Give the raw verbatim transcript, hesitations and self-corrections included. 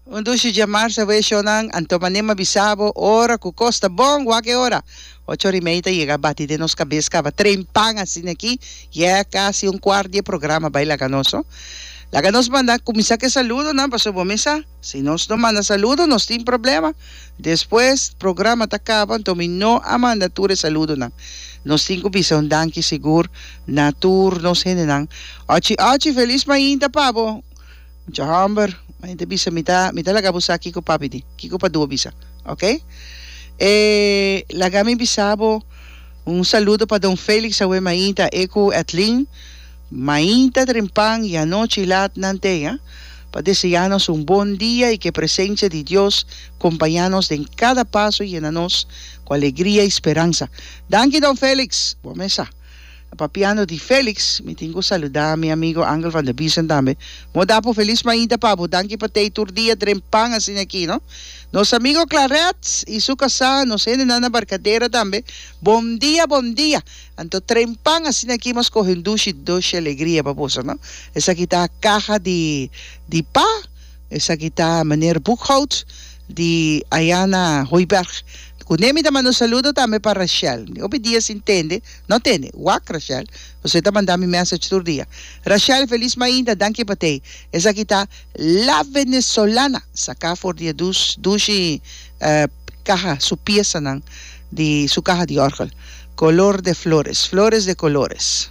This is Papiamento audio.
Un dushi djamars awe shonnan, anto manera m'a bisa bo ora ku kos ta bon, wak e ora. Ocho or i mei ta yega bati den nos kabes kaba trempan asina aki, ya kasi un kuart di e programa bai laga nos no. Laga nos manda kuminsá ku e saludonan pasobra bo mes sa, si nos no manda saludo nos tin problema. Despues programa ta kaba anto mi no a manda tur e saludonan. Nos tin ku bisa un danki sigur na tur nos hendenan. Ochi ochi felis mainta pa bo. Mucha hòmber, mainta bisa mi ta mi ta laga bo sa kiko papi di, kiko Padu a bisa, ok? E laga mi bisa bo un saludo pa Don Felix awe mainta e ku Edlin mainta trempan i anochi lat nan te a pa deseá nos un bon dia i ku e presensia di Dios kompañá nos den kada paso i yena nos ku alegria i speransa. Danki Don Felix, bo mes sa. Papiando di Felix, mi tin ku saludá mi amigo Angel van der Biesen tambe. Mo da bo felis mainta pa bo. Danki pa tei tur dia trempan asina aki, no? Nos amigo Claret i su kasá, nos hendenan na Barcadera tambe. Bon dia, bon dia. Anto trempan asina aki m'a skohe un dushi dushi alegria pa boso, no? Esaki ta kaha di di pa, esaki ta meneer Boekhout di aya na Hooiberg. Ku ne mi ta manda un saludo tambe pa Rachel. Mi hopi dia sin tende, no tende, wak Rachel, pasobra e ta manda mi message tur dia. Rachel, felis mainta, danki pa tei. Esaki ta La Venezolana, saká for di e dus dushi kaha, su piesanan di su kaha di òrgel. Color de flores, flores de colores.